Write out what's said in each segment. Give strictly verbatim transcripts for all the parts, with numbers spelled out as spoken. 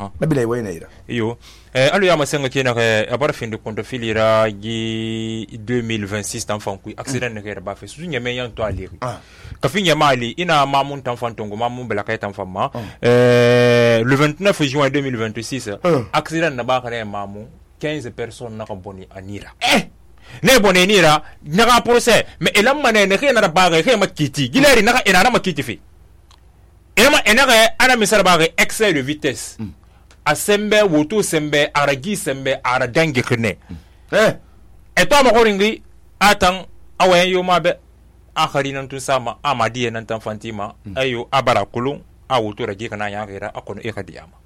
aha nabila wayna ira iyo eh alu ya masenga kena ke abara fin de konto filira gi deux mille vingt-six tan fanku accident ne kera ba fe su nyame yan to ali ka fin ya mali ina mamun tan fantongo mamun bela kay tan famma euh le vingt-neuf juin deux mille vingt-six accident na ba kare mamun quinze personnes na ko boni anira eh ne boni nira naga procès mais elam mané ne kena ba ga kay makiti gileri naga ina na makiti fi ema enare ana misala ba excès de vitesse a sembe woto sembe aragi sembe ara dangi khne eh eto ma horingi atan awen yo mabe akhari nan tun sama amadi nan tan fantima ayo abara kulun a woto ragi kana ya gira akono e khadiyama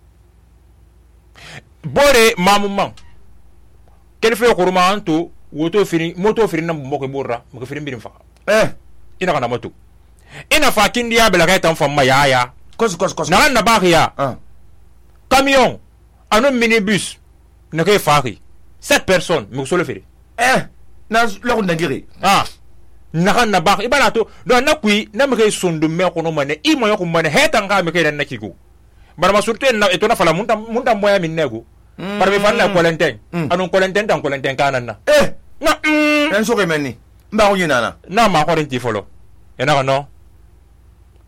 bore mamumman kelfe kuruma anto woto firi moto firi nan mboko borra mko firi mbirim fa eh ina kana moto ina fa kindi ya bela tan famma ya ya kos kos kos na na baria ah camion un minibus ne ke fari sept personnes me so le fere eh na lo ndangiri ah na na ba ibana to do na kui na me ke sundu me ko no mane i mo yoko mane heta nga me ke dan na kigo bara ma surte na eto na fala munta munta moya min nego bara me falla kolenten anon kolenten tan kolenten kanan na eh na en so ke menni mba ko yina na ma ko renti folo ena no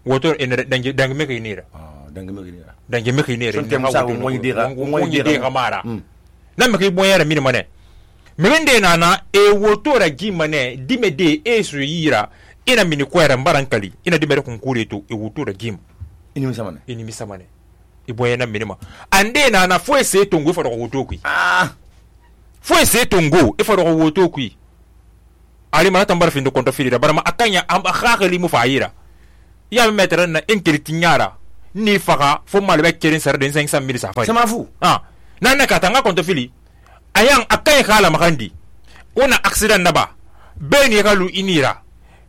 woto en dangi dangi me ke nira dangi me ke nira dangi me ke nira ngi ha woto moy dira moy dira mara na me ke boyera min mane mende nana e woto ra gi mane dimede e su yira ina mini kwera mbarankali ina dimere kunkure to e woto ra gim ini misamane ini misamane e boyena minima ande nana fo ese tongo fo ro woto kui ah fo ese tongo e fo ro woto kui ali mana tambar findo konto filira barama akanya am akhakali mu faira ya metre na inkeliti nyara ni faka fo malbe kerin sar de cinq cent mille sa fa sama fu ah nana katanga konto fili ayang akay khala makandi una accident naba beni galu inira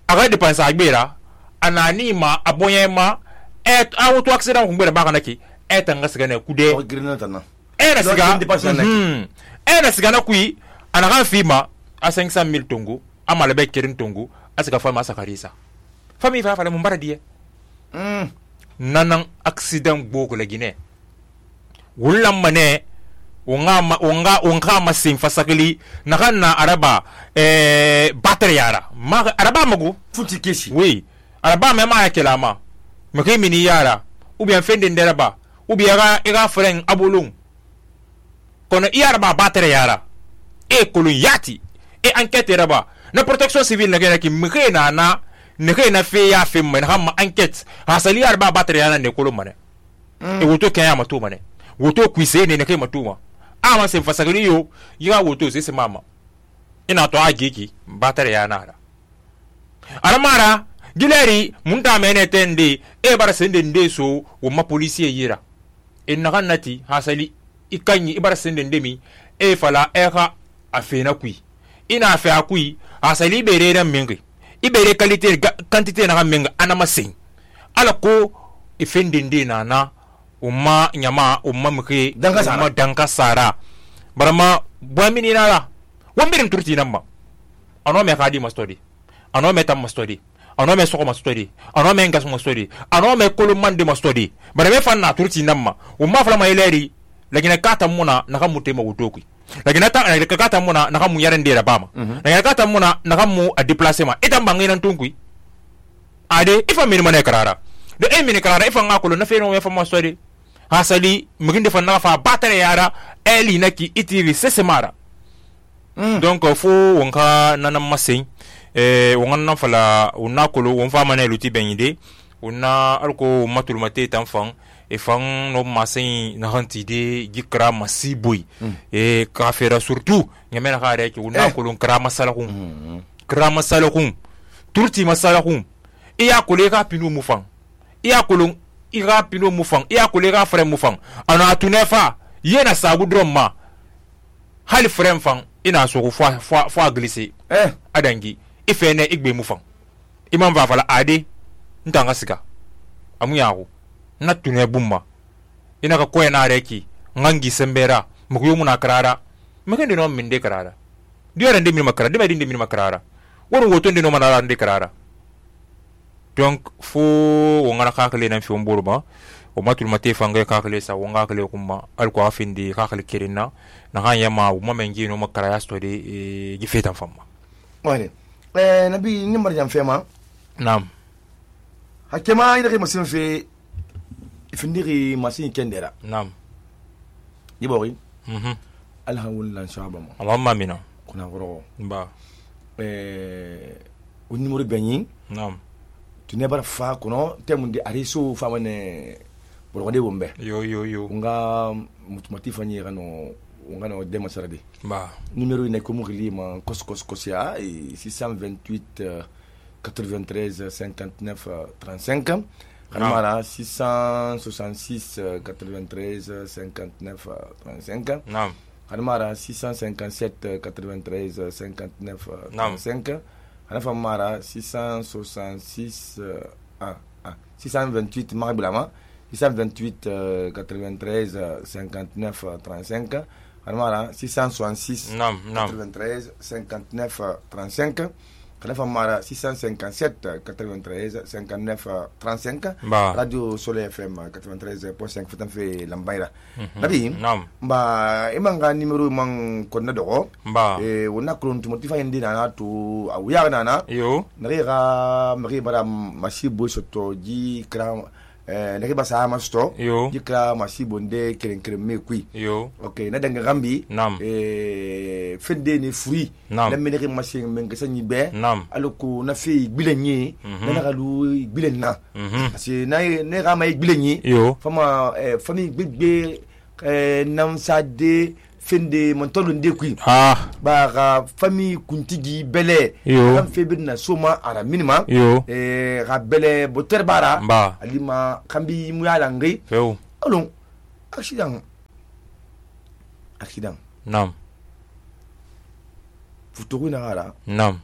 aga depensa agbera anani ma aboyema et auto accident kumbere baka naki et ngasiga ne kude o grenata na era siga hmm era siga na kui anaga fima a cinq cent mille tongo amala be kerin tongo asika fama sakarisa fami fa fala mumbara die hmm nanan accident boko la Guinée wulam mane unga ma, unga unga masin fasakili nakana araba eh battery yara ma araba magu futi keshi oui araba me ma yakelama me ke mini yara ou bien fende nderaba ou bien ga ega freng abulung kono yaraba battery yara e kolu yati e enquête raba na protection civile na gena ki me na na ne ke na fe ya fe me na ma enquête hasali yaraba battery yara ne kolu mane mm. e woto kaya matu mane woto kuise ne ne ke matuma ama se fasagiri yo yiga woto se se mama ina to agiki batare ya nara aramara gileri munta mene tende e bara sende ndeso wo ma police yira inna kannati hasali ikanyi ibara sende ndemi e fala eka afena kui ina afa akui hasali bere ran mengi ibere qualité quantité na menga anama sen ala ko ifende ndina na umma nyama umma muke umma danka sara barama boamini nala wambirim turti namma ano me khadi mastodi ano me tam mastodi ano me soko mastodi ano me ngas mastodi ano me kolumande mastodi barame fanna turti namma umma fala mayleri lagina kata muna naka mutema wutoki lagina ta lagina kata muna naka mu yaren dera bama lagina kata muna naka mu a déplacement etam bangina tunkui ade ifa min mane karara de e min karara ifa ngakolo na feno me fa mastodi hasali muginde fa na fa batare yara eli naki itiri sesemara mm. donc fo wonka nana masin eh wonga fala unakolo won fa mane luti benide una alko matul mate tan fan e fan no masin na hantide gikra masiboy mm. e kafera surtout nyamena khare ki unakolo eh. kra masalakum mm. kra masalakum turti masalakum iya kole ka pinu mufan iya kolon ira pino mufang iya kolega frère mufang ana atunefa yena sagu dromma hali frère fang ina so fo fo fo glissé eh adangi ifene igbe mufang imam va fala ade ntanga siga amuyago na tune bumma ina ka ko na reki ngangi sembera mukuyo muna karara mekende no minde karara diore ndemi makara de ndemi makarara woro woto ndeno manara nde karara donc fo wongana kakale nan fi mburba o matul mate fanga ka kale sa wonga kale kuma al ko afindi ka kale kirinna na han yama o mamengi no makara ya sto de gifetan famma wani eh nabi ni marjan fema nam hakema ida ke masin fe ifindiri masin kendera nam yibori mhm alhamdulillah shabama allahumma amina kuna goro ba eh o numéro benyi nam tu ne bara fa kono temundi ariso famane bolonde bombe yo yo yo nga mutumati fanyi gano ngano dema sarade ba numéro ine ko mugli ma kos kos kosia six cent vingt-huit quatre-vingt-treize cinquante-neuf trente-cinq Kanamara six cent soixante-six quatre-vingt-treize cinquante-neuf trente-cinq nam Kanamara six cent cinquante-sept quatre-vingt-treize cinquante-neuf trente-cinq Kanamara six cent soixante-six ah ah six cent vingt-huit Mariblama six cent vingt-huit quatre-vingt-treize cinquante-neuf trente-cinq Kanamara six cent soixante-six quatre-vingt-treize cinquante-neuf trente-cinq Kanamara six cent cinquante-sept quatre-vingt-treize cinquante-neuf trente-cinq Radio Soleil F M quatre-vingt-treize point cinq Fatan fe Lambaira Nabi ba imanga numéro man konna dogo ba e wona kron to motifa indi na to awuya na yo nariga mari bara masibo soto ji kram eh nake basa masto ji kra masibo nde keren keren me kui yo okay na danga gambi eh fende ni free na menere machine men gasanyi be aloko na fe gbilenyi na galu gbilen na parce na ne ga mai gbilenyi fama fami gbegbe nam sade fende montolo nde kui ah ba ga fami kuntigi bele am febir na soma ara minima eh ga bele boter bara alima kambi muyala ngi feu alon accident accident nam futoku na gara nam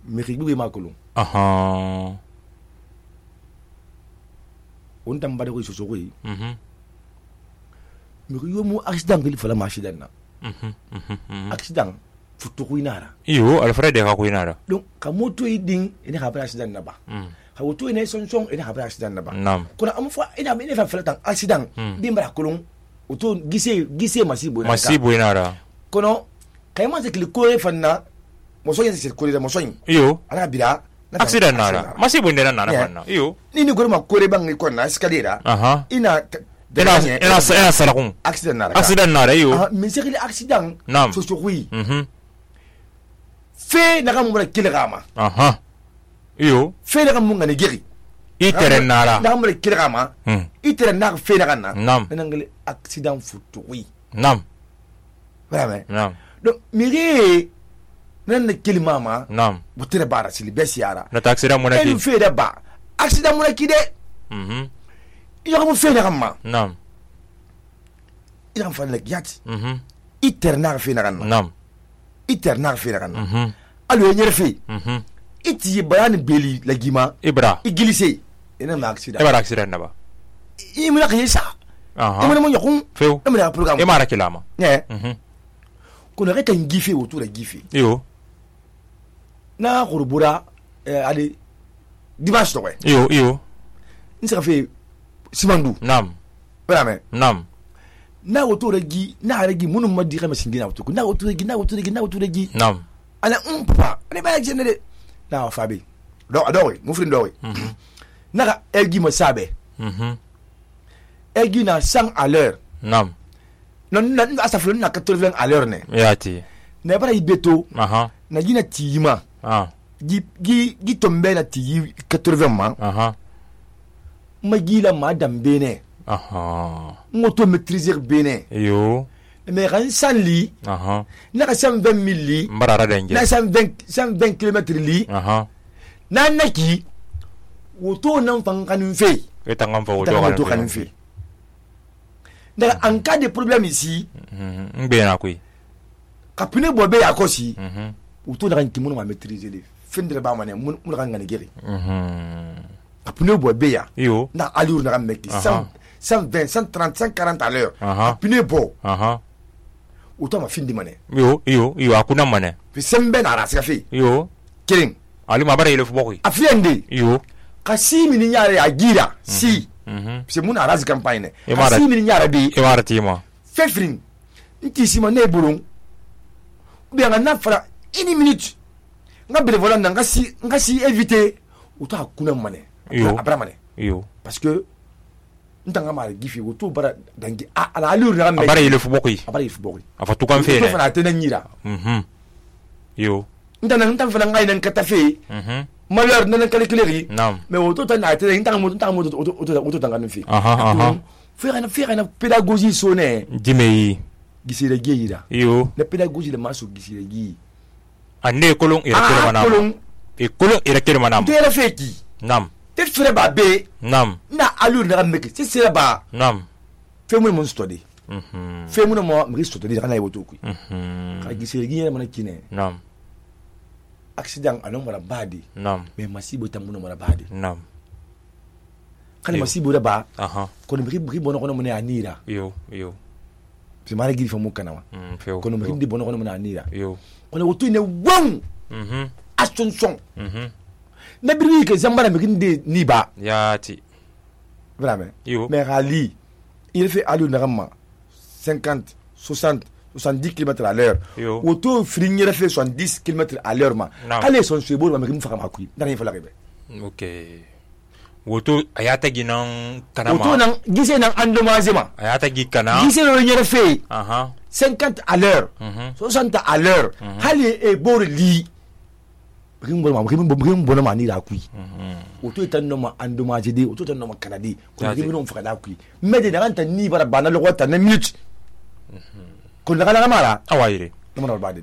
mekigbe makolo aha on tambade ko soso ko yi mhm mi yo mu accident gili fala ma accident na mhm mhm accident futoku inara yo alfred ka ko inara donc ka moto idin ina ha accident na ba ha woto ina son son ina ha accident na ba nam kuna am fa ina ina fa fala tan accident bi mbara kolon woto gise gise masibo na masibo inara kono kayma se kili ko fanna mo so yin se ko re mo so yin yo ana bira accident nara masibo ndena nana fanna yo nini gore ma ko re bang ko na escalera aha ina ina ina ina salakun accident nara accident nara yo ah mais c'est que l'accident so so oui mhm fe na ga mo kile gama aha yo fe na ga mo ngani giri itere nara na mo kile gama itere na fe na ga na nam na ngale accident futu oui nam vraiment nam donc miri nan na kile mama nam butere bara sili besiara na accident mo na ki en fe da ba accident mo na ki de mhm yo mo fe na ga ma nam ila fa le yati mhm itere na fe na ga na nam itere na fe na ga na mhm alo nyer fe mhm iti bayan beli la gima ibra igilise ina ma accident ibra accident na ba imuna kayesa aha imuna mo yakun feu imuna program imara kilama ne mhm kono reta ngife autour de gife yo na khurubura eh ali dimanche to yo yo nsa fe simandu nam vraiment nam na autour de gi na regi munu madi khama singina autour na autour de gi na autour de gi na autour de gi nam ala um papa ne ba jene de na fabi do do mu frin do mhm na elgi mo sabe mhm elgi na cent à l'heure nam non na asaflo na quatre-vingts à l'heure ne yati ne bara ibeto aha na gina tiyima ah gi gi gi tombe na tiyi quatre-vingts ma aha magila ma dambe ne aha moto maîtriser bene yo mais ran sanli aha na cent vingt mille li mbarara denje na cent vingt kilomètres li aha na naki woto nan fankanin fe etangam fa woto woto kanin fe dans en cas de problème ici ngbe na kui kapune bobe yakosi mhm woto na kan kimuno ma maîtriser le fendre ba mané mun mun kan ngani geri mhm kapune bobe ya yo na allure na kan meki cent vingt, cent trente, cent quarante à l'heure kapune bo aha woto ma findi mané yo yo yo akuna mané fi sembe na rasika fi yo kiring ali mabara ile fubokui afiende yo kasi mini nyare agira si c'est mon arras campagne si min nyara bi e marati ma fefrin nti sima ne bulun bi nga na fara une minute nga bele volant nga si nga si éviter uta kuna mane abra mane yo parce que ntanga mara gifi woto bara dangi ala allure na me abara ile fuboki abara ile fuboki afa tukan fe ne fana tena nyira mhm yo ntana ntana fana ngai nan kata fe mhm malheur nan calculer nam mais woto tana tena ntanga mo ntanga mo woto woto tanga nan fi aha aha faire na faire na pédagogie sonné dimei gisire geyira yo na pédagogie de maso gisire gi ane kolon ira kele manam e kolon ira kele manam tera feki nam te fere ba be nam na allure na meke c'est c'est ba nam fe mo mon study mhm fe mo mo mi study kana iboto ku mhm ka gisire gi na mana kine nam accident anon mara badi nam mais masibo tambuno mara badi nam kana masibo da ba aha kono mi mi bono kono mona anira yo yo c'est mara giri fa mo kana wa mm feo kono mi di bono kono mona anira yo kono woto ne won mhm astonson mhm na biri ke zambara mi kinde ni ba yati vraiment yo mais rali il fait allure na cinquante soixante soixante-dix kilomètres à l'heure auto frignere fait soixante-dix kilomètres à l'heure ma allez son suebo ma mi faka makui ndani fa la rebe ok woto ayata ginan kana ma woto nan gise nan endommagé ma ayata gi kana gise lo nyere fait aha cinquante à l'heure soixante à l'heure hali e bor li rimbo ma rimbo rimbo na mani la kui auto etan no ma endommagé de auto tan no ma kanadi ko rimbo no faka la kui mais de ranta ni bara bana lo wata na minute ko la kala mara awayire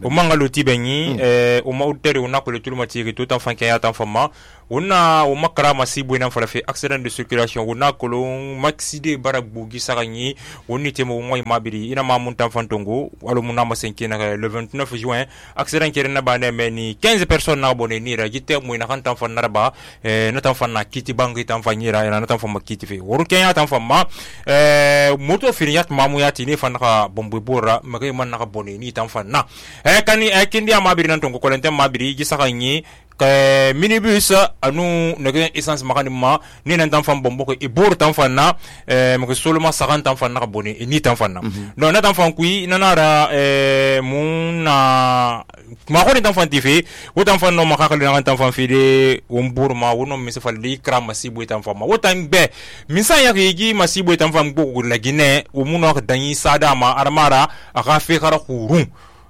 o mangalo tibenyi eh o mautere una ko le tulma tiri tout en fan kaya tan fama una o makara masibu ina fala fe accident de circulation una ko lo maxide baragbu gisaranyi woni temo moy mabiri ina ma mun tan fantongo walo mun na ma senki na le vingt-neuf juin accident kere na bane meni quinze personnes na abonné ni ra jite mo ina kan tan fan narba eh na tan fan na kiti bangi tan fanyira ina na tan fan makiti fe woru kenya tan fama eh moto firiat mamu yati ni fan ka bombe bora magay man na abonné ni tan fan na eh kani eh kindi amabiri nan tongo kolente mabiri gisaranyi que minibus anu nege essence makani ma ni nan tan fam bombo ko e bor tan fanna eh mo seulement cinquante tan fanna ka boni e ni tan fanna non na tan fan kui nanara eh muna ma ko ni tan fan tifi wo tan fan no makaka na tan fan fi de wombur ma wono mi se fal di kram masibu tan fam ma wo tan be minsan ya gi masibu tan fam go la gine wo muno ka danyi sada ma armara aka fi khara khurun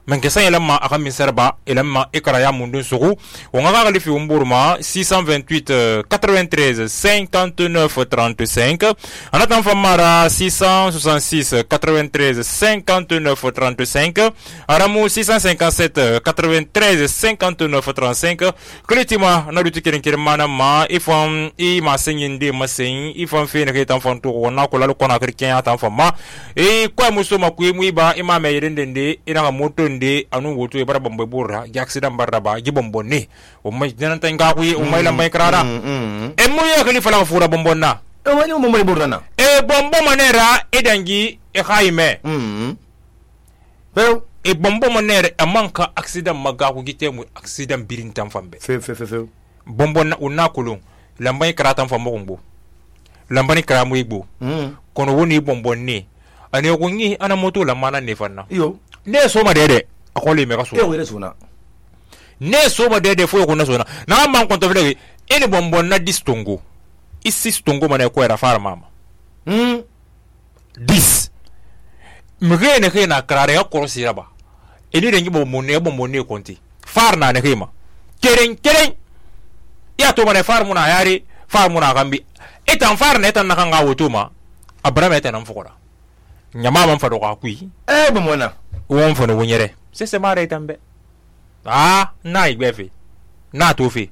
men ke sanya lamma aka min serba elamma ikra ya mundun sugu wonga ga lifi umburma six cent vingt-huit quatre-vingt-treize cinquante-neuf trente-cinq anatan famara six cent soixante-six quatre-vingt-treize cinquante-neuf trente-cinq aramu six cent cinquante-sept quatre-vingt-treize cinquante-neuf trente-cinq kletima na duti kirin kirin mana ma ifam i ma senyin de masen ifam fe ne ke tan fanto wona ko lalo kona kirkin tan fama e kwa muso makui muiba ima me yirindende ina ga moto de anu woto e bara bombe burra gi accident barra ba gi bombonni o may nan tan ga kuyi o may lambay krara e mo ya kali fala fura bombonna e wani mo mo burra na e bombo manera e dangi e khayme mm pero e bombo manera e manka accident maga ku gite mu accident birin tan fambe fe fe fe fe bombo na unna kulun lambay krata fambo ngbo lambani kramu igbo mm kono woni bombonni ane ko ngi ana moto la mana ne fanna yo ne soma dede akole me kaso e wele sona ne soma dede fo ko na sona na man konto vele ene bombon na distongo isi stongo mana ko era far mama hmm dis mgene ke na krare ya korosi raba eni rengi bombon ne bombon ne konti far na ne kema keren keren ya to mana far muna yari far muna gambi etan far ne tan na kan ga wotuma abrama etan fukora nyama man fado ka kui e bomona won fo no wonyere se se mare tambe ah na igbefe na tofi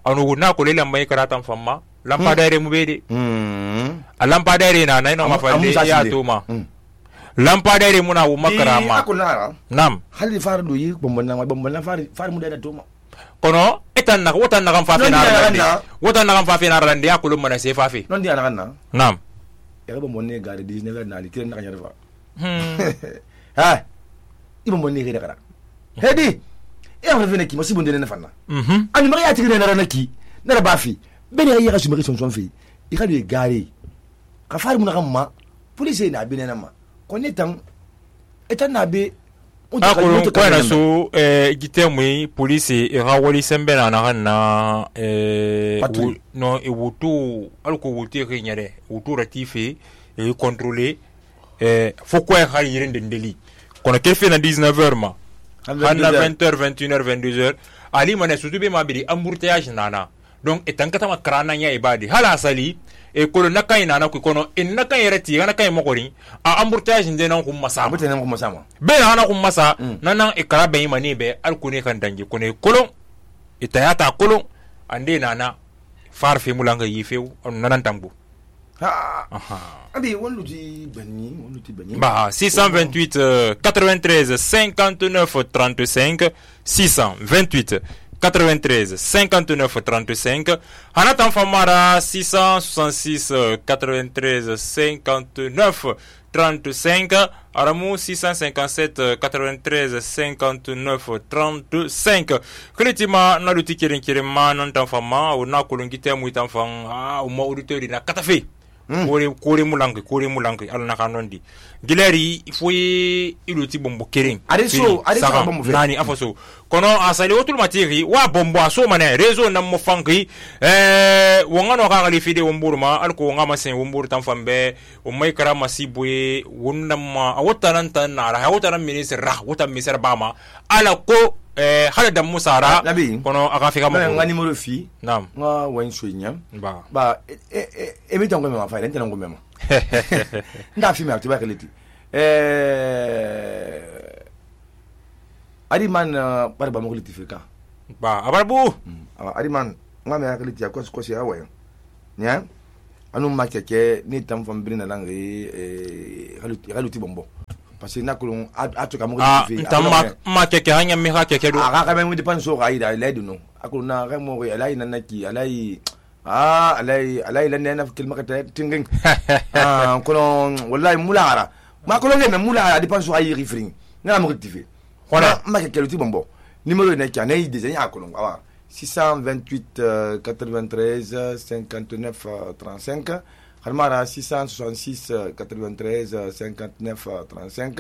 anu na ko le lamba karatan famma lampadare mu bede mm a lampadare na na no mafalle ya toma lampadare muna wo makara ma nam hali far do yi bombona bombona far far mu da toma kono etan na wotan na kan fa fe na rande wotan na kan fa fe na rande ya ko lumana se fa fe non dia na kan nam ya bombone gare dix-neuf na li kiren na kan fa ha ibo monni gere gara hedi e on revene ki mo sibunde ne fanna mhm ani mari ati ne na ki na ba fi bene ya ga sumari son son fi i ga le gare ka fari mun ma police na bi na ma ko ne tan etan na be a ko ko na so eh gitemwe police e ga wali sembe na na na eh no e wutu alko wutu ke nyare wutu ratife e contrôler eh faut quoi ha yirin dendeli kono ke fe na dix-neuf heures ma hanna vingt heures vingt et une heures vingt-deux heures ali mané surtout be ma biri embouteillage nana donc etan kata ma krana nya ibadi hala sali e kolo nakai nana ko kono en nakai reti na kai mokori a embouteillage ndé nan ko massa embouteillage nan ko massa ma be na ko massa nanan e kara be mani be alkune kan dangi kono kolo itayata kolo ande nana far fe mulanga yifew on nanan tambu ha aha abi wonluti bani wonluti bani ba six cent vingt-huit euh, quatre-vingt-treize cinquante-neuf trente-cinq six cent vingt-huit quatre-vingt-treize cinquante-neuf trente-cinq Hanatan Famara six cent soixante-six quatre-vingt-treize cinquante-neuf trente-cinq Aramou six cent cinquante-sept quatre-vingt-treize cinquante-neuf trente-cinq Kretima naluti kirin kirima nantan fama o na kolongite mu itanfan ah o ma auditeur na katafe kore kore mulangi kore mulangi alna kanondi gileri foi iluti bombo kering areso areso bombo nani afoso kono asali otul matiri wa bombo aso mane rezo na mo fangi eh wongano ka gali fide womburma alko ngama sen wombur tan fambe o mai kara masibwe wonnama awotanan tan nara awotanan ministre ra wotan ministre bama ala ko eh hala da musara kono aka fika mo ngani mo fi nam nga wan suinya ba ba e e mi tango me ma fa lente nango mema nda fi me atiba keleti eh ari man par ba mo keleti fika ba abarbu ari man nga me keleti ya kosi kosi awa nya anu ma keke ni tam fam brina langi eh haluti haluti bombo parce que nakulun atuka mo keleti fi tam ma ma keke hanya mi ha keke do aga ka me depan so ga ida ledu no akuluna ga mo alai nanaki alai ah alai alai lan na fikil makata tingin ah kono wallahi mulara ma kono ngene mulara depan so ayi rifring na mo rectifier voilà ma ke keluti bombo numéro ne ki anay design akulun awa six cent vingt-huit quatre-vingt-treize cinquante-neuf trente-cinq Halmara six cent soixante-six quatre-vingt-treize cinquante-neuf trente-cinq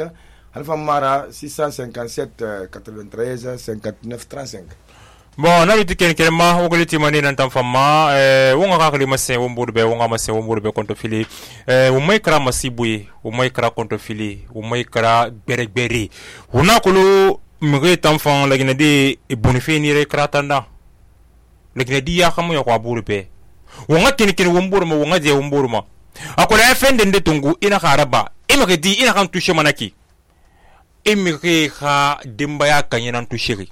Alpha six cent cinquante-sept quatre-vingt-treize cinquante-neuf trente-cinq. Bon, na biti ken ken ma o goliti mani nan tam fama eh wonga ka kali masse wombur be wonga masse wombur be konto fili eh o mai kra masibuye o mai kra konto fili o mai kra bere bere una kulu mire tam fan la gina de e bonife ni re kra tanda la gina di ya kamu ya kwa buru be wonga ken ken wombur ma wonga je wombur ma akola fende nde tungu ina karaba imake di ina kan tushe manaki imike ha dimbaya kanyana tushiri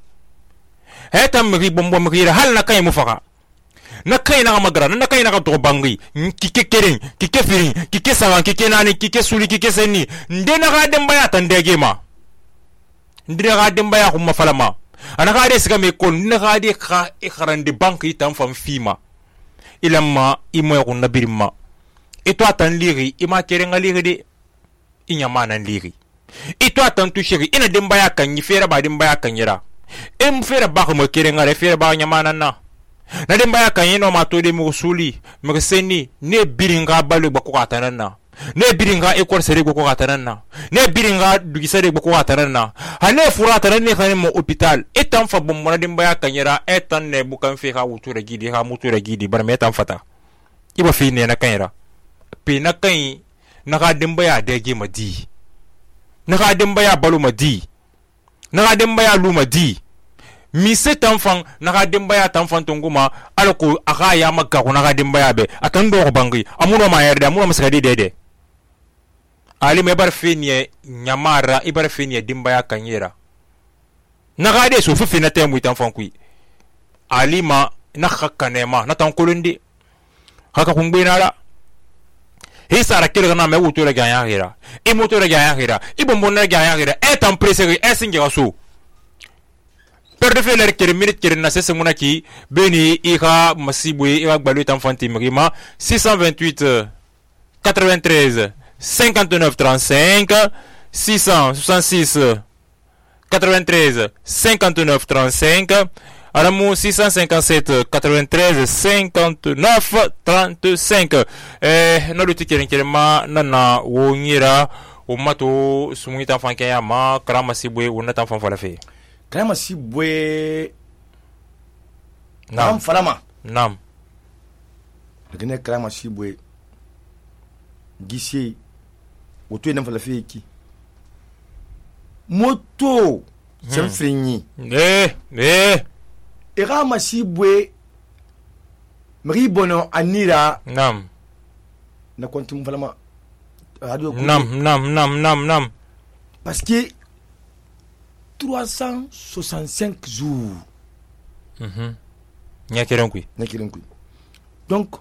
heta mri bombo mri hal na kay mufaka na kay na magara na kay na ka to bangi kike keren kike firin kike sawan kike nani kike suli kike seni ndena ga dimbaya tandege ma ndina ga dimbaya kuma falama ana ga de siga me kon ndina ga de ka ikharande banki tan fam fima ilamma imo ko nabirima eto atan liri ima kerenga liri de inyama nan liri eto atan tushiri ina dimbaya kan yifera ba dimbaya kan yira em fera ba ko kerenga re fera ba nyama nan na na dimbaya kan yino ma to de mo suli mo seni ne biringa balu ba ko atanan na ne biringa ekor sere ko ko atanan na ne biringa dugi sere ko ko atanan na hane fura tanan ne kan mo hospital etan fa bom mo dimbaya kan yira etan ne bukan fe ka wutura gidi ha mutura gidi bar metan fata iba fi ne na kan yira pe na kan na ga dimbaya dege madi na ga dimbaya balu madi na ga dimbaya lu madi mi se tanfan na ga dimbaya tanfan tunguma alko aga ya makka ko na ga dimbaya be atan do bangi amuno ma yarda amuno masakadi dede ali me bar fini nyamara ibar fini dimbaya kanyera na ga de so fifi na temu tanfan kui ali ma na khakane ma na tan kulundi haka kungbe na la hisara kile na me wutura ga ya hira e motora ga ya hira e bombo na ga ya hira e tan preseri e singe gaso perde feler kere minute kere na sese munaki beni ika masibwe e bagbalu tan fanti mrima six cent vingt-huit quatre-vingt-treize cinquante-neuf trente-cinq six cent soixante-six quatre-vingt-treize cinquante-neuf trente-cinq Alamu six cent cinquante-sept quatre-vingt-treize cinquante-neuf trente-cinq. Eh no luti keren keren ma nana wo nyira o mato sumungi tan fanke ya ma Karama Sibwe wona tan fan fala fe. Karama Sibwe Nam falama. Nam. Gane Karama Sibwe gise woto nan fala fe ki. Moto sem frinyi. Eh eh Karama Sibwe mari bono anira. Nam. Na kontum falama radio. Nam nam nam nam nam. Parce que trois cent soixante-cinq jours. Mhm. Nya keren kui. Nya keren kui. Donc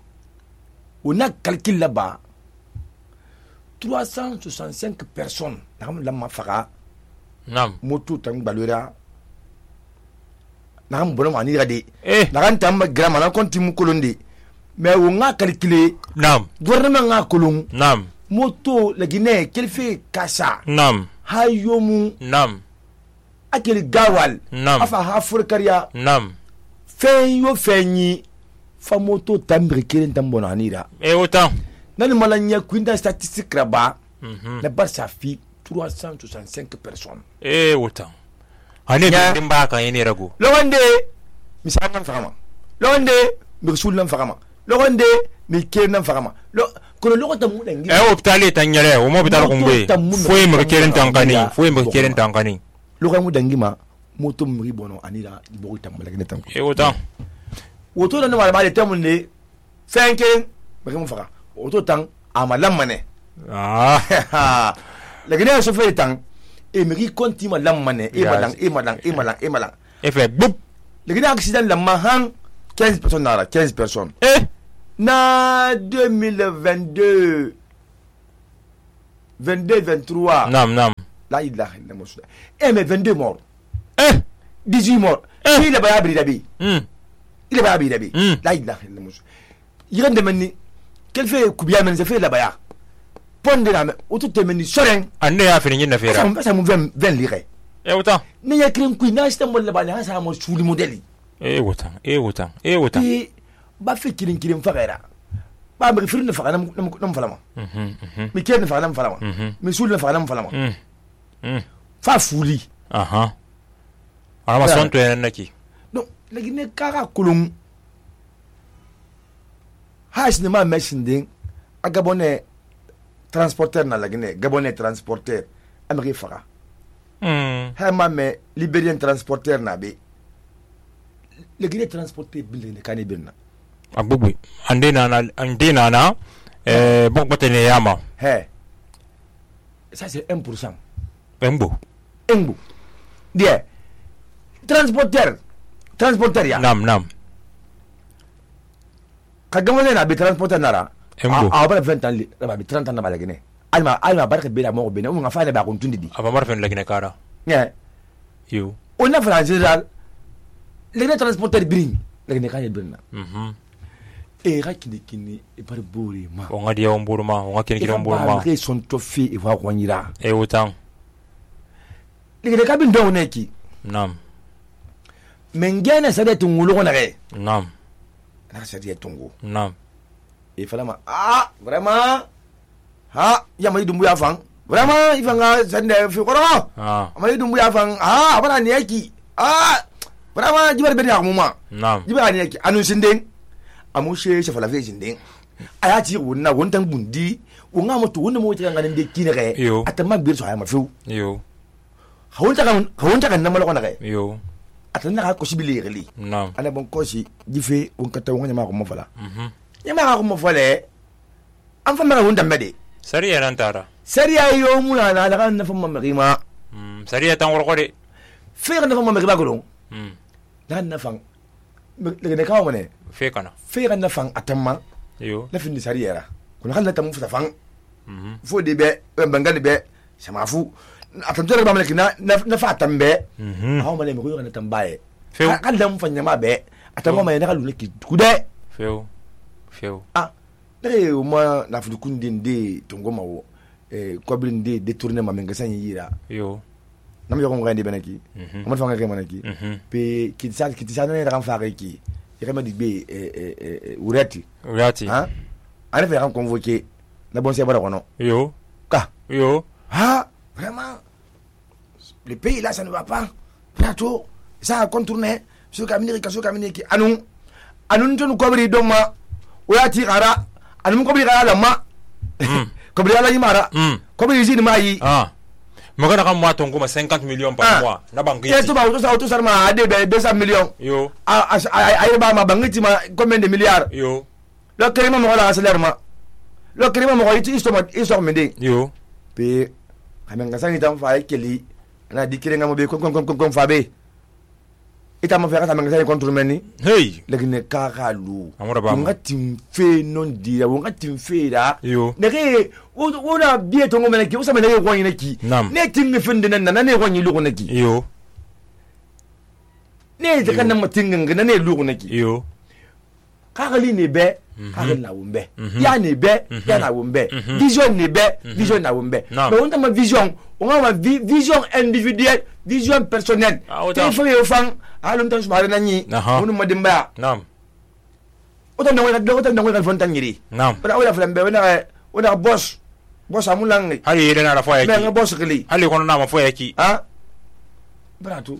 on a calculé là-bas trois cent soixante-cinq personnes. La mafaka. Nam. Moto tang balura. Nakam bono anira de. Eh. Nakan tamba grama na konti mu kolonde. Mais on a calculé. Nam. Gouvernement a kolon. Nam. Moto la Guinée qu'elle fait kasa. Nam. Hayomu. Nam. Akeli gawal. Nam. Afa hafurkaria. Nam. Fen yo fenyi. Fa moto tambri kelen tambono anira. Eh autant. Nani malanya kwinda statistique là-bas. Mhm. Na bar sa fi trois cent soixante-cinq personnes. Eh autant. Ane dimba kan yene rago. Lowande misanan fama. Lowande mirsul nan fama. Lowande mi kenan fama. Lo kono lo ta mu dangi. Eh hôpital tanyere o mo hôpital ko ngbe. Foi mo keren tankani, foi mo keren tankani. Lo ga mu dangi ma moto mi bono anira bo tambala gene tanko. Eh autant. Woto nan ma ba de tamunde cinq ba mu faka. Woto tang amalam mane. Ah. La gene so fe tang e mi konti ma lam mane e malang e malang e malang e malang. E fait boup. Le gene accident la mahan quinze personnes nara quinze personnes. Eh Na deux mille vingt-deux vingt-deux vingt-trois. Nam nam. La ilaha illallah. Eh mais vingt-deux morts. Eh dix-huit morts. Eh. Il est pas abri d'abi. Hmm. Il est pas abri d'abi. Hmm. La ilaha illallah. Il rend demani. Quel fait coubien men ça fait là-bas. Ponde la o tout temeni soren. Ande ya fini nyina fera. Ça ça mu vingt vingt lire. Eh autant. Ne ya kren ku na sta mo la ba sa mo suli modeli. Eh autant. Eh autant. Eh autant. Et ba fe kirin kirin fagara. Ba mi firin fa nam nam falama. Mhm mhm. Mi ken fa nam falama. Mhm. Mi sul fa nam falama. Mhm. Mhm. Fa fuli. Aha. Ala son to en naki. Donc la Guinée kara kulum. Hash ne ma machine ding. A Gabonais transporteur na la Guinée, Gabonais transporteur Amérique fara. Hmm. Ha ma me Libérien transporteur na be. Le Guinée transporteur bil ne kane birna. Abubu. Ande na na ande na na eh bon batene yama. He. Ça c'est un pour cent. Embo. Embo. Dia. Transporteur. Transporteur ya. Nam nam. Ka Gabonais na be transporteur nara. Embo. A ba vingt ans li, ba bi trente ans na ba la Guinée. Alma alma barka be la mo be na on fa le ba ko tundi di. Aba marfen la gine kara. Yeah. You. On a fait en général les transporteurs bring la Guinée kane birna. Mhm. E rakini kini e par bori ma. On a dia on burma, on a ken ken on burma. Ils sont toffés et va kwanyira. Eh autant. Les Guinée kabin do neki. Nam. Mengena sa de tungulo na re. Nam. Na sa de tungu. Nam. E fala ma ah vraiment ha ya mai dumbu ya fang. Vraiment il fanga sande fi koro. Ah. Mai dumbu ya fang ah abana ni yaki. Ah vraiment jibar be ya muma. Nam. Jibar ni yaki anu sinden. Amushe shafala ve sinden. Aya ti wonna wontan bundi wonga moto wonna mo tanga ngande kinere. Atama bir so ayama fu. Yo. Hawonta kan hawonta kan namalo kana re. Yo. Atana ka ko sibili reli. Nam. Ana bon ko si dife on kata wonga ma ko mo fala. Mhm. Nyama ko mo fale. Am fa mara wonda mede. Sariya nan tara. Sariya yo mu na na kan na fa ma ma. Mm, sariya tan wor ko de. Fe kan na fa ma ba ko don. Mm. Dan na fa. Le ne ka mo ne. Fe kana. Fe kan na fa atamma. Yo. La fin di sariya ra. Ko na kan na tamu fa fa. Mhm. Fo de be bangani be sama fu. Atamtore ba malaki na na fa tambe. Mhm. Hawo male mi ko na tambaye. Fe. Kan da mu fa nyama be. Atamma ma na ka lu ki kude. Feo. Feo. Ah. Nere uma na fudukundi ndi tongoma wo eh kwabili ndi détourner ma mengasa yira. Yo. nam yo ngandi benaki mo fa ngake manaki pe kitisa kitisa ne ran fa ki yema di be urati urati ha ana fa ran convoquer na bon c'est bara kono yo ka yo ha vraiment le pays là ça ne va pas plateau ça a contourné sur kamini ka sur kamini ki anu anu tun kobri doma urati qara anu kobri qara la ma kobri ala yimara kobri yini mai ah magana kan moi ton goma cinquante millions par mois na bangi yeto ba to sa to sarma ade be deux cents millions yo a ay ba ma bangi ma combien de milliards yo lo kerima mo la salaire ma lo kerima mo yiti isto ma isto mende yo pe kamen ga sani tam fa keli na dikire ngamo be kon kon kon kon fa be ita mo fa ka men ga sani contre meni hey legine ka ka lu amura ba nga timfe non dia nga timfe da yo nege wona biye to ngomene ki usame nege kwani neki ne tinge fende nan nan ne kwani lu neki yo ne de kan na tinge ngana ne lu neki yo ka gali ne be ka gali na wumbe ya ne be ya na wumbe vision ne be vision na wumbe mais on ta ma vision on a ma vision individuelle vision personnelle te fa yo fan alum tan sumare nanyi on mo dimba nam o tan ngwa do tan ngwa fontan yiri nam bara wala flambe wona wona boss boss amulang hali yele na rafa yaki mais boss kili hali kono na ma fo yaki ha bara tu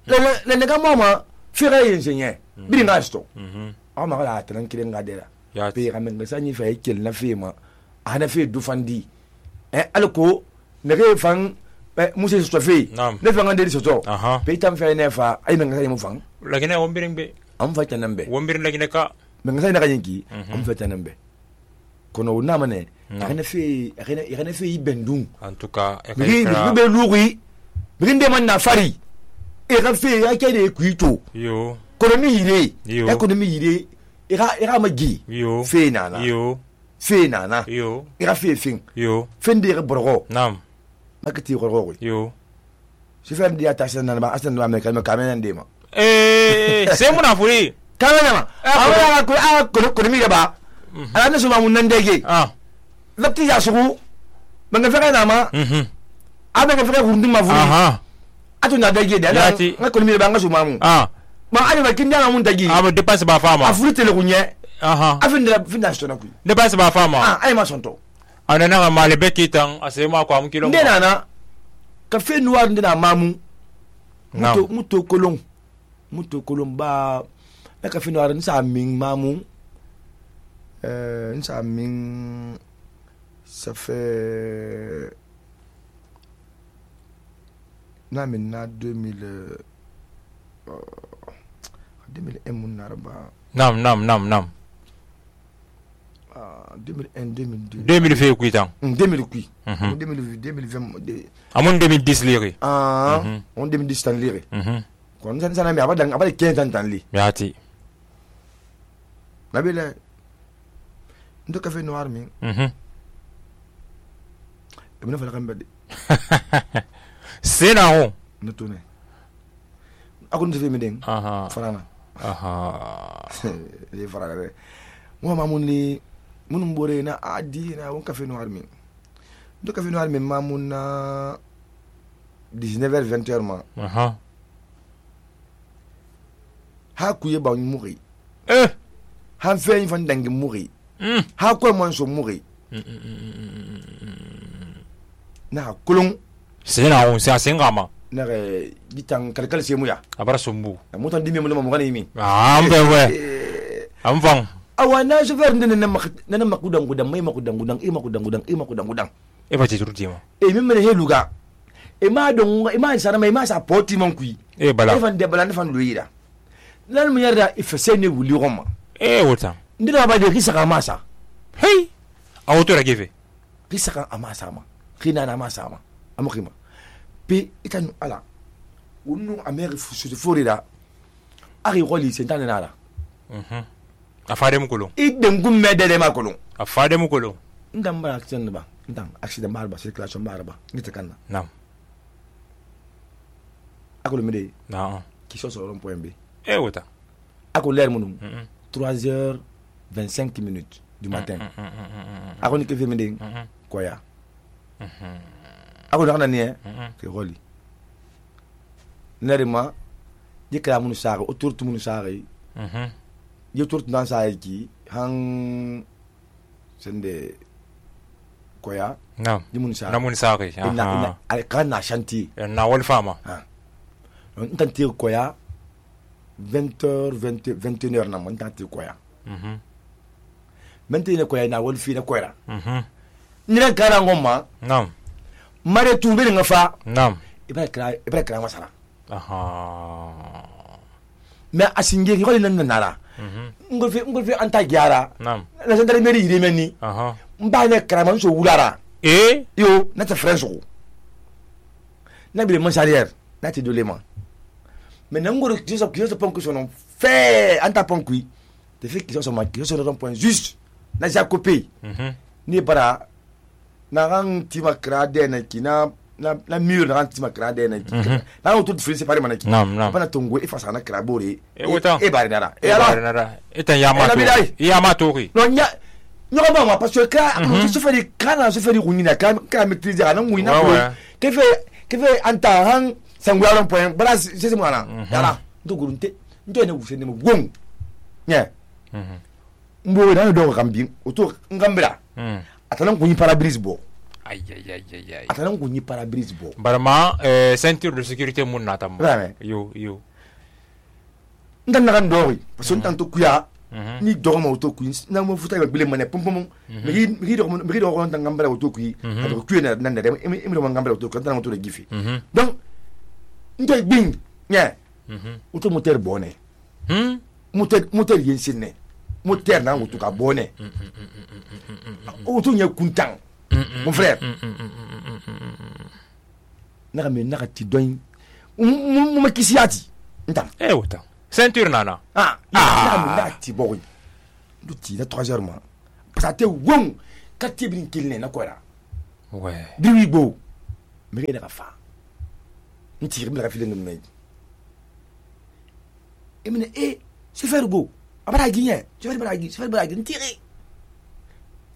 le le le ga mama fira yenyenye bi nga sto mhm ama la tan kire nga dera ya pe ga men sa ni fa yekel na fe ma ana fe du fandi eh alko ne re fan musa sto fe ne fa ngande so to pe tam fe ne fa ay men ga mu fan lagine wombiring be am fa tanambe wombiring lagine ka men ga na ga yinki am fa tanambe kono na mane agene fe agene agene fe ibendung en tout cas e ka be lugui binde man na fari e ka fe ya ke de kuito yo kono mi hire e kono mi hire e ka e ka magi yo fe nana yo fe nana yo e ka fe fin yo fende re borgo nam makati borgo yo si fe ndi atasha nana ba asan ba me kalma kamena ndema eh c'est mon afuri kamena ma awala ko a kono kono mi ba ala ne suma mun ndege ah lapti ya sugu manga fere na ma mhm abe nga fere hundu ma vuri aha atu na dege de ala nga ko mi ba nga suma mu ah ma ani ba kinda na mun dege ah me dépense ba fama afuri tele kunye aha afindra finda sto na ku dépense ba fama ah ay ma sonto ana na ma le bekitan asema kwa mkilo ndena na ka fe noir ndena mamu muto muto kolon muto kolon ba ka fe noir nsa min mamu euh nsa min ça fait na maintenant deux mille deux mille un mon arba nam nam nam nam ah deux mille un deux mille deux deux mille fait kuitan deux mille kuit deux mille deux mille vingt amon deux mille dix lire ah on deux mille dix tan lire mhm kon san sana mi abada abada quinze ans tan li yati nabila ndo café noir mi mhm ibn fala kambade c'est na on no tourner akon te mi deng aha farana aha le farana re mo mamun li munum bore na adi na won café noir mi ndo café noir mi mamun na dix-neuf heures vingt heures ma aha ha kuye ba muri eh han fe fan dangi muri mm ha ko mon so muri na kulung c'est na on c'est à singama na re bitang kalkal se muya abara sombu mo tan dimi mo mo ngani mi ah mbe we am fang awana je ver ndene na mak na makudang gudang may makudang gudang e makudang gudang e makudang gudang e ba ti turti ma e mi mene heluga e ma don e ma sana mai ma sa poti mon kui e bala e fan de bala fan loira lan mu yarda ifese ne wuli roma e wota ndina ba de risaka masa hey a woto ra gefe risaka amasa ma khina na masa ma amkhima pe itanu ala unu ameri fusu de forida ari roli sentane nala mhm afade mu kolon idem gumme de ma kolon afade mu kolon ndam ba accident ba ndam accident ba ba circulation ba ba nita kanna nam akolo mede na qui sont sur un point B e wota akolo l'air munum trois heures vingt-cinq minutes du matin akolo ke fe mede koya akolo na ne ke roli nerima ye kala mun saga o turtu mun saga mhm ye turtu dan saga ki han sende koya nam ye mun saga na mun saga ina ina kan na shanti na wal fama ha on tanti koya vingt heures vingt vingt et une heures na mon tanti koya mhm maintenant koya na wal fi na koya mhm ni ran kala ngoma nam mare tumbe nga fa nam ibra kra ibra kra masala aha mais asinge ko nan nara mhm ngol fe ngol fe anta gyara nam la sandare meri ire meni aha mba ne kra man so wulara eh yo na ta franço na bile monsalière na ti dolema mais nangoro ki so ki so pon ko sono fe anta pon kui te fait ki so ma ki so no point juste na ja copie mhm ni para na ran ti makra de na ki na na na mur na ran ti makra de na ki na ran tout frise pare manaki nam nam bana tongo e fasa na kra bore e wota e bari nara e ala nara etan yamato yamato ri no nya nyo ba ma parce que ka se fait kana se fait ruina ka ka maîtriser na nguina ko ke fait ke fait anta han sangwa ron point bala se se mwana yala ndo gurunte ndo ne wuse ne mo gong nya mhm mbo na do kambi oto ngambira mhm atanan kunyi parabrise bo aïe aïe aïe aïe atanan kunyi parabrise bo barama euh ceinture de sécurité mun natam yo yo ndan na kan dori parce que tanto kuya mhm ni do ma oto kuyi na mo futa ba bile mane pom pom mi mi do mi do ko tan ngambira oto kuyi ado kuyi na nan da mi mi do ngambira oto ko tan oto de gifi donc ndoy bing nya mhm oto moteur bonne hmm moteur moteur yensinne moteur na oto ka bonne oto nya kuntan mon frère naka me naka ti doin mu ma kisiati ntam eh wota ceinture nana ah naka me naka ti boy du ti na trois heures ma parce que won ka ti bin kilne na kola ouais biwi bo me ke naka fa nti rim la filen me e mine e se faire go abara ginye se faire bara gi se faire bara gi ntiri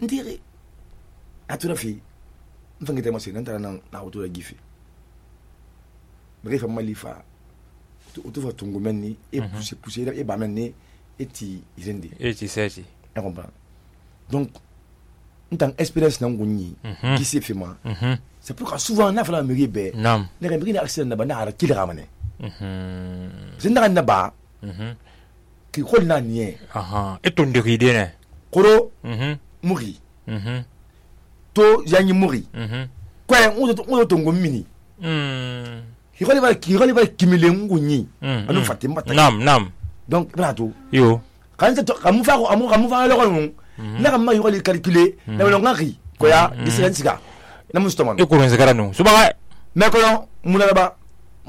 ntiri atura fi mfangite mo se nantara na na auto gifi bref malifa to to fa tungu menni e pousser pousser e ba menni e ti irende e ti seti e comprend donc ntan expérience na ngunyi qui s'est fait moi c'est pourquoi souvent na fala mairie be nam ne ga mairie na accident na ba na ara kila ramane mhm zinda na ba mhm ki khol na nie aha e to ndiride ne koro mhm muri mhm to yanyi muri mhm kwa uto uto tongo mini mhm hikoli ba hikoli ba kimile ngunyi anu fatimba ta nam nam donc brato yo kan ta kamu fa ko amu kamu fa lo ko na kam ma hikoli calculer na lo ngaki ko ya disensiga na mustoman e ko ren zagara no suba me ko no muna ba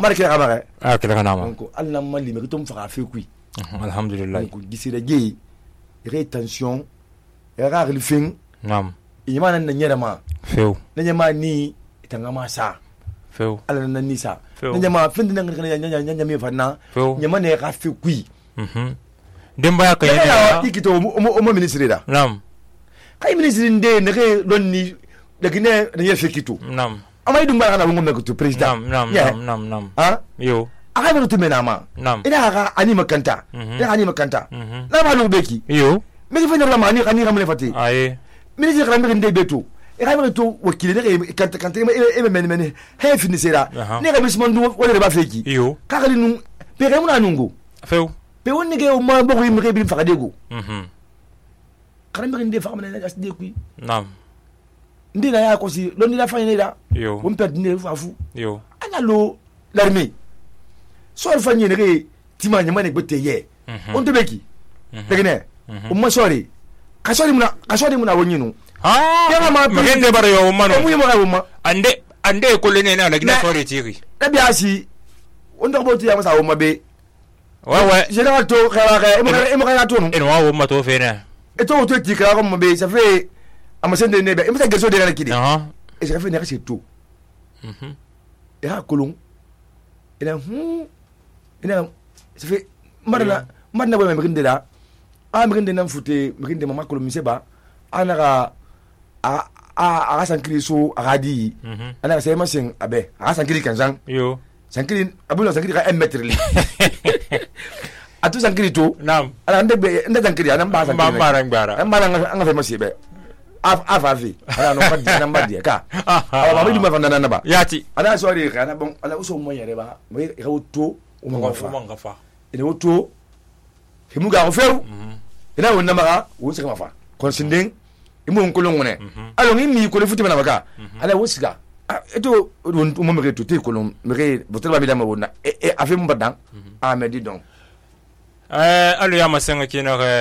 marke ka ba ah kila kana ma donc alla mali me to mfa fa kui alhamdulillah donc gisira ge rétention era relfing nam imana na nyera ma feu na nyama ni itanga ma sa feu ala na ni sa na nyama finde na ngana nyanya nyanya mi fanna nyama ne ka fi kui mhm demba ya kay ya ikito o mo ministre da nam kay ministre nde ne ke don ni de gine ne ye fikito nam amay dum bana ngom ne ko president nam nam nam nam ha yo aka no tumena ma nam ina ka ani makanta ina ani makanta na ba no beki yo me ke fanya la mani kan ni ramle fati aye ministre kan mi nde beto e ka mi to wakile ne kan kan te e men men he finisera ne ka bisman du wala ba feki yo ka ka nu pe ka mu na nungu feu pe woni ke o ma bo ko mi ke bi fa dego mhm kan mi nde fa ma na as de kui nam ndi na ya ko si lo ni la fa ni da yo on perd ni fa fu yo ana lo l'armée so fa ni ne ke tima nyama ne gbote ye on to beki de ne o ma sori ka sori muna ka sori muna woni nu ah ya ma magende bare yo mano mu mo ga mo ande ande ko le ne na la gina sori tiri da biya si on do bo ti ya masa o ma be wa wa général to kala ka e mo e mo ga to no en wa wo ma to fe ne e to to ti kala ko mo be ça fait amasende ne be e mo sa gerso de la kidi ah e ça fait ne ka c'est tout mhm e ha kolon e na hu e na ça fait marna marna bo me nginde da a me nginde na fute me nginde mama kolon mi se ba ana ka a a a sankiri so a di ana ka sai masin abe a sankiri kanzan yo sankiri abulo sankiri ka un mètre li atu sankiri to Naam. ala nde be nde sankiri ana ba sankiri Ba mara ngbara. an mara an fa masibe af afafi ala no ka dina mbadi ka ala ba mi duma fanda na ba Yati. ala sori ka na bon ala uso mo yare ba mo ka to o mo fa Mo ngafa. ina woto himu ga ko few ina wonna maka wo sika mafa kon sinding imu nkolon ngone alo ngi mi ko le futi bana maka ala wo sika eto mo me to te kolon me botel ba mi dama wonna e afi mo badan a me di donc eh alu ya masenga kina ke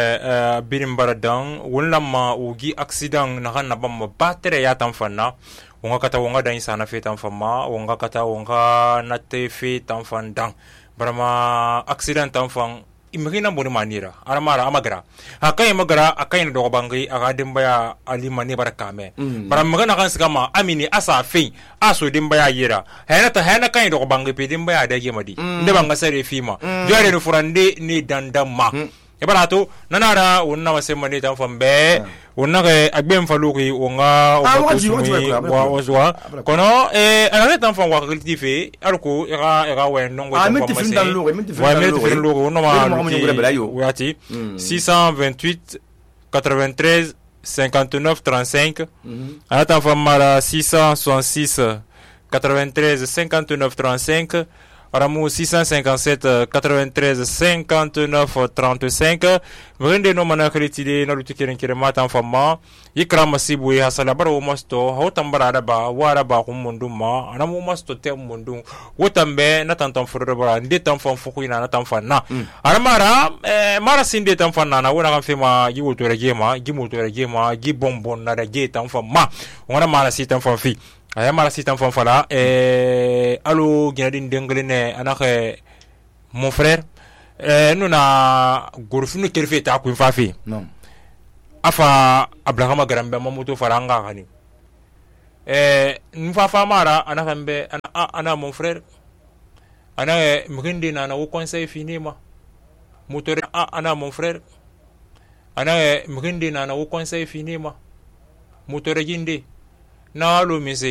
birim baradan wonlamma ugi accident na kan na bam batere ya tan fanna wonga kata wonga dan sana fe tan famma wonga kata wonga na te fe tan fandan barama accident tan fan imagina boni manira aramara amagara akai magara akai no bangi aga dimbaya ali mani barakame baram magana kan sigama amini asa fe aso dimbaya yira hena ta hena kai do bangi pe dimbaya dage madi nde banga sare fima jore no furande ni dandamma e barato nanara wonna wasema ni tan fambe wonna ke agbem faluki wonga wa waswa kono e ana tan fam wa kultife arko era era wen non wa minti film dan logo minti film dan logo no ma wati six cent vingt-huit quatre-vingt-treize cinquante-neuf trente-cinq ana tan fam mara six cent soixante-six quatre-vingt-treize cinquante-neuf trente-cinq Aramu six cent cinquante-sept quatre-vingt-treize cinquante-neuf trente-cinq Mrende no mana kritide na lutikirin kirema tan famma yikra masibu ya hasala baro masto hotan barada ba wara ba kum munduma anamu masto te mundum wotambe na tan tan furo bara nde tan fam fuku ina na tan fanna aramara eh, mara sinde tan fanna na wona kan fema gi woto regema gi moto regema gi bonbon na rege tan famma wona mara si tan fam fi aya mara sitan fan fala eh allo ginadin denglene anake mon frère eh nuna gorfunu kerfe ta ku fafi non afa abrahama garambe mamuto faranga hani eh nfa fa mara anaka mbe ana, ana mon frère ana mrindi na na wo conseil finima motore ana mon frère ana mrindi na na wo conseil finima motore ginde na lo mise